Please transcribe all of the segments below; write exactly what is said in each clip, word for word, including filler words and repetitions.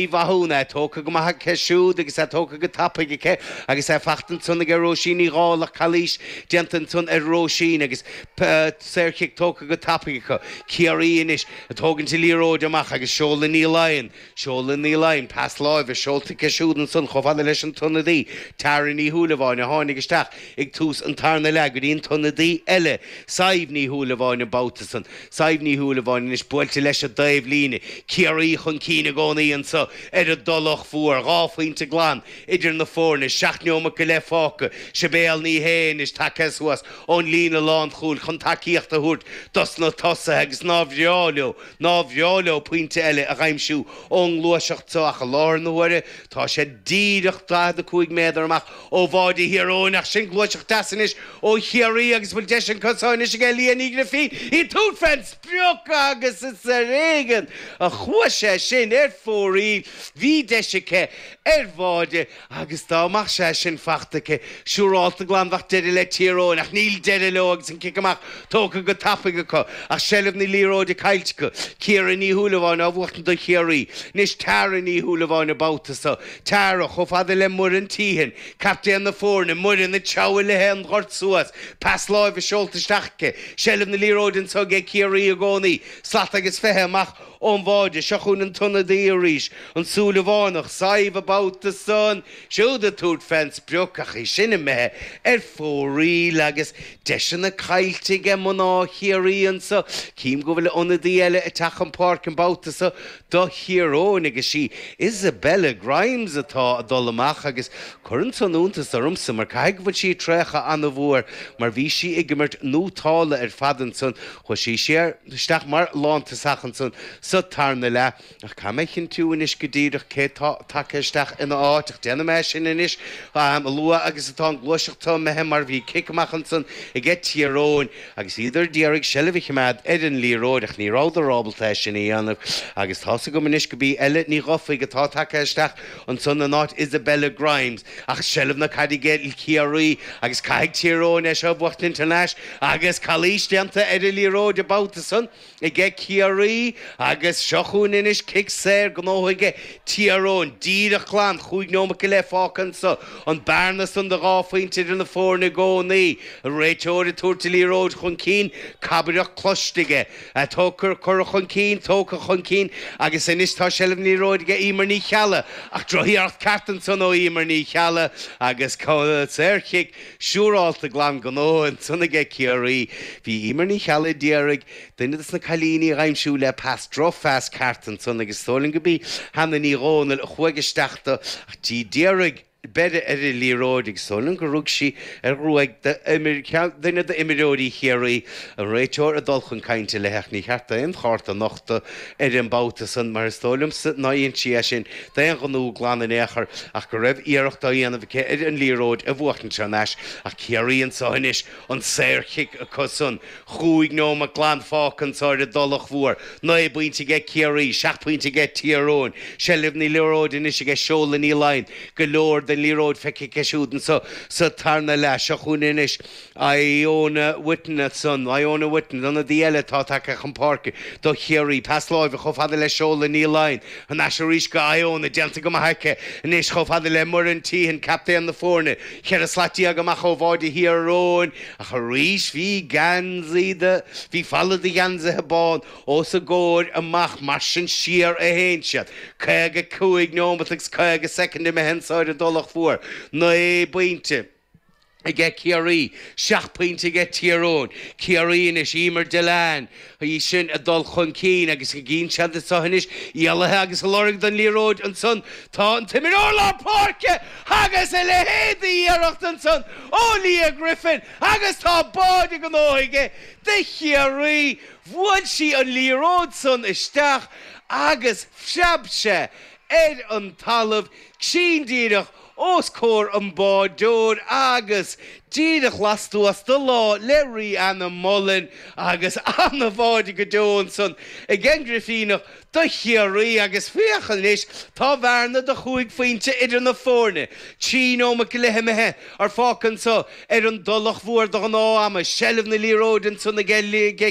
Mhathúna tógtha go maith aici siúd agus é tógtha go tapaidh aici agus é fachta ansan aige Róisín Ní Dhálaigh calaois déanta ansan ar Róisín agus saorchic tógtha go tapaidh acu. Ciarraí anois ag tógaint an liathróid amach agus Seola Ní Laighin, Seola Ní Laighin, pas láimhe seolta aici siúd ansan chomh fada leis an t-ionadaí Tara Ní Shúilleabháin a tháinig isteach ag tús an tarna leath go dtí an t-ionadaí eile Sadhbh Ní Shúilleabháin an babhta san. Sadhbh Ní Shúilleabháin anois buailte leis an dtaobhlíne. Ciarraí chun cinn i gcónaí anso ar an dTulach Mhór. Dhá phointe glan idir na foirne, seacht neomat go leith fágtha. Sibéal Ní Shé anois tagtha suas ón líne lánchúil chun tacaíocht a thabhairt dos na tosaithe agus nár bhreá leo, nár bhreá leo pointe eile a dh'aimsiú ón ngluaiseacht so ach i láthair na huaire tá sé díreach daichead a cúig méadar amach ó bháide Thír Eoghain ach sin gluaiseacht deas anois ó Chiarraí agus bhfuil deis an cosán anois aige Leah Ní Ghrifín í ag tabhairt fén sprioc agus is ar éigean a chuaigh sé sin ar fóraoil. Bhí deis aici ar bháide agus dá mbeadh sé sin fachta aici siúrálta glan bheadh deireadh le Tír Eoghain ach níl deireadh leo agus an cic amach tógtha go tapaidh acu ach seilbh na liathróide caillte acu. Ciara Ní Shúilleabháin á bhuachtaint do Chiarraí. Anois Tara Ní Shúilleabháin an babhta so. Tara chomh fada le Muireann Teehan, captaen na foirne, Muireann ag treabhadh léi an gort suas, pas láimhe seolta isteach aici, seilbh na liathróide anso aige Ciarraí i gcónaí, slat agus fiche amach ón bháide. Seo chugainn an t-ionadaí arís, an Súilleabhánach, Sadhbh an babhta san, siúd ag tabhairt fén sprioc ach í sin imithe ar fóraoil agus deiseanna caillte aige mná Chiarraí anso. Cím go bhfuil ionadaí eile ag teacht chun páirce an babhta so do Thír Eoghain agus sí Isabella Grimes atá ag dul amach agus cuireann san iontas ormsa mar caithfidh go bhfuil sí ag traochadh an-mhór mar bhí sí ag imirt nótálta ar fad ansan. Chuaigh sí siar isteach mar lántosach ansan sa tarna leath. Ach caithfidh mé a chinntiú anois go díreach cé tá tagtha isteach ina áit, ach déanfaidh mé sin anois a luaithe agus atá an ghluaiseacht seo imithe mar bhí cic amach ansan aige Tír Eoghain agus iad ar d'iarraidh seilbh a choimeád ar an liathróid ach ní rabhadar ábalta é sin a dhéanamh agus tá's agam anois go b'í Ella Ní Dhufaigh atá tagtha isteach ansan in áit Isabella Grimes ach seilbh na caide aige Ciarraí agus caithfidh Tír Eoghain é seo a bhuachtaint thar n-ais agus calaois déanta ar an liathróid an babhta san aige Ciarraí agus seo chugainn anois cic saor gnóthaithe aige Tír Eoghain. Díreach glan chúig neomat go leith fágtha anso. An bearna san de dhá phointe idir na foirne i gcónaí. An réiteoir ag tabhairt an liathróid chun cinn, cabaireacht cloiste aige. Tógtha, curtha chun cinn, tógtha chun cinn agus anois tá seilbh na liathróide aige Emer Ní Cheallaigh ach drochiarracht ceart ansan ó Emer Ní Cheallaigh agus saorchic siúrálta glan gnóthaithe ansan aige Ciarraí. Bhí Emer Ní Cheallaigh a d'iarraidh duine des na cailíní a dh'aimsiú le pas, drochphas ceart ansan agus is dóigh liom go b'í Hannah Ní Dhomhnaill a chuaigh isteach do ach í d'iarraidh breith ar an liathróid agus is dóigh liom gur rug sí ar ghruaig duine d'imreoirí Chiarraí, an réiteoir ag dul chun cainte léi ach ní cheart aon chárta a nochtadh ar an mbabhta san mar is dóigh liomsa nár dhein sí é sin d'aon ghnó glan in aon chor ach go raibh iarracht á dhéanamh aici ar an liathróid a bhuachtaint thar n-ais ach Ciarraí anso anois an saorchic acu san. Chúig neomat glan fágtha anso ar an dTulach Mhór. Naoi bpointe aige Ciarraí, seacht bpointe aige Tír Eoghain. Seilbh na liathróide anois aige Seola Ní Laighin. Go leor den liathróid feicthe aici siúd anso sa tarna leath. Seo chugainn anois Iona Whitten ansan. Iona Whitten, ionadaí eile atá tagtha chun páirce do Chiarraí. Pas láimhe chomh fada le Seola Ní Laighin. Thar n-ais arís go Iona. Déanta go maith aici anois chomh fada le Muireann Teehan, captaen na foirne. Ceithre slat déag amach ó bháide Thír Eoghain. Ach arís bhí geansaí de, bhí falla de gheansaithe bán os a gcomhair amach, mar sin siar a théann siad. Caoga cúig neomat agus caoga soicind imithe anso ar an dTulach Mhór. Naoi bpointe aige Ciarraí, seacht bpointe aige Tír Eoghain. Ciarraí anois, Emer Dillane, í sin ag dul chun cinn agus go gcíonn siad anso anois, éalaithe agus ag lorg don liathróid ansan tá an t-imreoir lár páirce agus a leithéid d'iarracht ansan ó Leah Griffin agus tá báide gnóthaithe aige do Chiarraí. Bhuail sí an liathróid san isteach agus phreab sé ar an talamh cruinn díreach os comhair an bháireoir agus díreach lastuas de lámh le Rihanna Mullen agus an-bháide go deo ansan ag an nGrifíneach do Chiarraí agus féach anois tá bearna de chúig phointe idir na foirne. Trí nóiméad go leith imithe ar fágtha anseo ar an dTulach Mhór de ghnáth ama, seilbh na liathróide ansan ag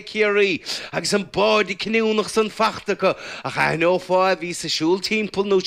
Ciarraí agus an báide cinniúnach san fachta acu ach aithneofá a bhí sa siúl timpeall nó